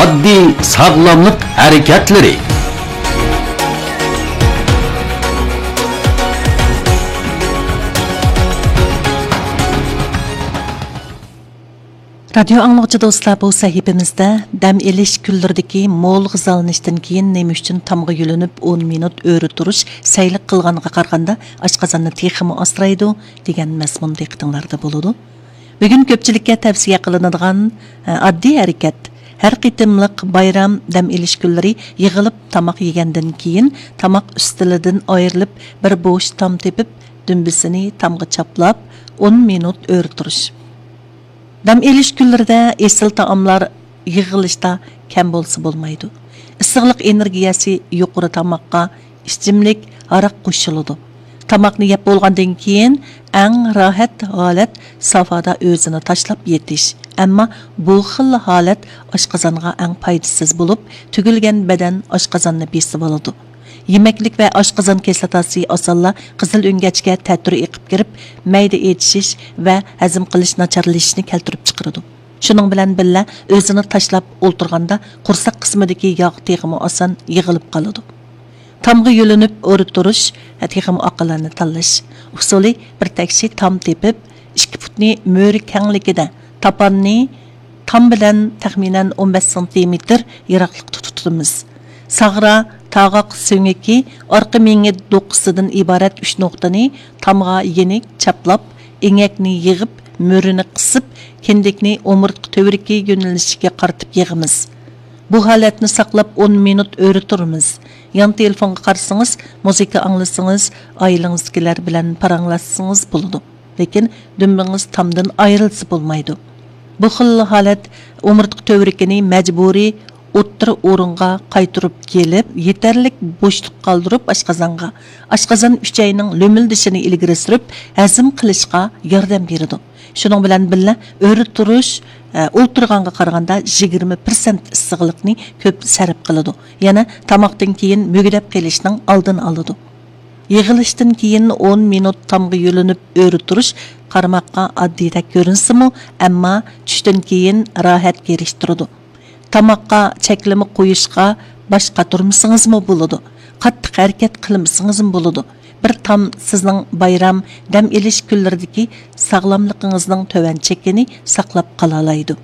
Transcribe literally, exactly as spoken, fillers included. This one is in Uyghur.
ئاددىي ساغلاملىق ھەرىكەتلىرى. رادىيو ئاڭلىغۇچى دوستلار، بۇ سەھىپىمىزدە دەم ئېلىش كۈنلىرىدىكى مول غىزالىنىشتىن كېيىن نېمە ئۈچۈن تامغا يۆلىنىپ ئون مىنۇت ئۆرە تۇرۇش سەيلىك قىلغانغا قارىغاندا ئاشقازاننى تېخىمۇ ئاسرايدۇ دېگەن مەزمۇن دىققىتىڭلاردا بولىدۇ. بۈگۈن كۆپچىلىككە تەۋسىيە قىلىنىدىغان، ئە، ئاددىي ھەرىكەت، ھەر قېتىملىق بايرام، دەم ئېلىش كۈنلىرى يىغىلىپ تاماق يېگەندىن كېيىن، تاماق ئۈستىلىدىن ئايرىلىپ، بىر بوش تام تېپىپ، دۈمبىسىنى تامغا چاپلاپ، ئون مىنۇت ئۆرە تۇرۇش. دەم ئېلىش كۈنلىرىدە ئېسىل تائاملار يىغىلىشتا كەم بولسا بولمايدۇ. ئىسسىقلىق ئېنېرگىيەسى يۇقىرى تاماققا ئىچىملىك ھاراق قوشۇلىدۇ. تاماقنى يەپ بولغاندىن كېيىن ئەڭ راھەت ھالەت سافادا ئۆزىنى تاشلاپ يېتىش. ئەمما بۇ خىل ھالەت ئاشقازانغا ئەڭ پايدىسىز بولۇپ، تۈگۈلگەن بەدەن ئاشقازاننى بېسىۋالىدۇ. يېمەكلىك ۋە ئاشقازان كىسلاتاسى ئاسانلا قىزىل ئۆڭگەچكە تەتۈر ئېقىپ كىرىپ، مەيدە ئېچىشىش ۋە ھەزىم قىلىش ناچارلىشىشنى كەلتۈرۈپ چىقىرىدۇ. شۇنىڭ بىلەن بىللە، ئۆزىنى تاشلاپ ئولتۇرغاندا قورساق قىسمىدىكى ياغ تېخىمۇ ئاسان يىغىلىپ قالىدۇ. تامغا يۆلىنىپ ئۆرە تۇرۇش، تېخىمۇ ئاقىلانە تاللاش ئۇسۇلى، بىر تەكشى تام تېپىپ، ئىككى پۇتنى مۈرە كەڭلىكىدە، تاپاننى تام بىلەن تەخمىنەن ئون بەش سانتىمېتىر يىراقلىقتا تۇتىمىز. ساغرا، تاغاق سۆڭىكى، ئارقا مېڭە دوقىسىدىن ئىبارەت ئۈچ نۇقتىنى تامغا يېنىك چاپلاپ، ئېڭەكنى يىغىپ، مۈرىنى قىسىپ، كىندىكنى ئومۇرتقا تۈۋرۈكى يۆنىلىشىگە قارىتىپ يىغىمىز. بۇ ھالەتنى ساقلاپ ئون مىنۇت ئۆرە تۇرىمىز. يان تېلېفونغا قارىسىڭىز، مۇزىكا ئاڭلىسىڭىز، ئائىلىڭىزدىكىلەر بىلەن پاراڭلاشسىڭىز بولىدۇ. لېكىن دۈمبىڭىز تامدىن ئايرىلسا بولمايدۇ. بۇ خىل ھالەت ئومۇرتقا تۈۋرۈكىنى مەجبۇرىي ئوتتۇرا ئورۇنغا قايتۇرۇپ كېلىپ، يېتەرلىك بوشلۇق قالدۇرۇپ ئاشقازانغا، ئاشقازان ئۈچەينىڭ لۆمۈلدىشىنى ئىلگىرى سۈرۈپ، ھەزىم قىلىشقا ياردەم بېرىدۇ. شۇنىڭ بىلەن بىللە، ئۆرە تۇرۇش، ئە، ئولتۇرغانغا قارىغاندا يىگىرمە پىرسەنت ئىسسىقلىقنى كۆپ سەرپ قىلىدۇ. يەنە تاماقتىن كېيىن مۈگدەپ قېلىشنىڭ ئالدىنى ئالىدۇ. يىغىلىشتىن كېيىن ئون مىنۇت تامغا يۆلىنىپ ئۆرە تۇرۇش قارىماققا ئاددىيدەك كۆرۈنسىمۇ، ئەمما چۈشتىن كېيىن راھەت كېرىشتۈرىدۇ. تاماققا چەكلىمە قويۇشقا باش قاتۇرمىسىڭىزمۇ بولىدۇ. قاتتىق ھەرىكەت قىلمىسىڭىزمۇ بولىدۇ. بىر تام سىزنىڭ بايرام، دەم ئېلىش كۈنلىرىدىكى ساغلاملىقىڭىزنىڭ تۆۋەن چېكىنى ساقلاپ قالالايدۇ.